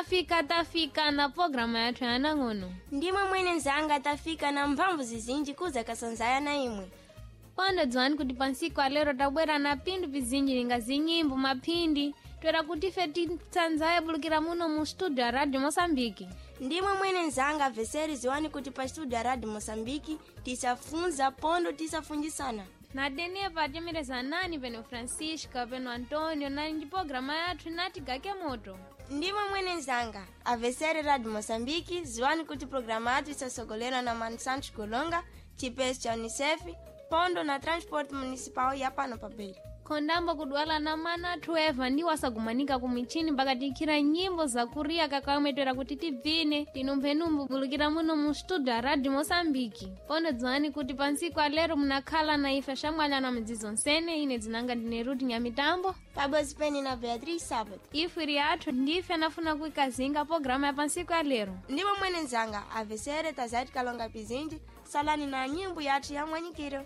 Tafika, tafika na programa yathu ya anang'ono. Ndimwe mwene nzanga, tafika na mphamvu zizinji kuza kasanzaya na imwe. Pano dziwani kuti pansiku alero tabwera na phindu pizinji linga zinyimbo, maphindi, toera kuti ife titsanzaye bulukira muno mu studio ya Radio Moçambique. Ndimwe mwene nzanga veseri, ziwani kuti pa studio ya Radio Moçambique tisafunza pondo tisafunjisana. Na denepa atemereza nani peno Francisca, peno Antonio, na ndi programa yathu inati Gake Moto. Ndimwe mwene nzanga avesere Radio Moçambique, ziwani kuti programa yathu isasogolerwa na Mano Santos Golonga, chipesi cha UNICEF pondo na transport municipal ya pano pa Beira. Khondambo kudwala na mana athu eva ndiwo asagumanika ku michini mpaka tikhira nyimbo zakuriya kakamwe toera kuti tibvine tinumphenumbu bulukira muno mu studio ya Radio Moçambique. Pono dziwani kuti pansiku alero munakhala na ife shamwalana midzidzo nsene. Ine dzinanga ndine Ruth Nyamitambo. Pabodzi pene na Beatriz Sábado. Ifwiri yathu ndife anafuna kuikazinga programa ya pansiku alero. Ndimwe mwene nzanga avesere, tazati kalonga pizinji, salani na nyimbo yathu ya mwanyikiro.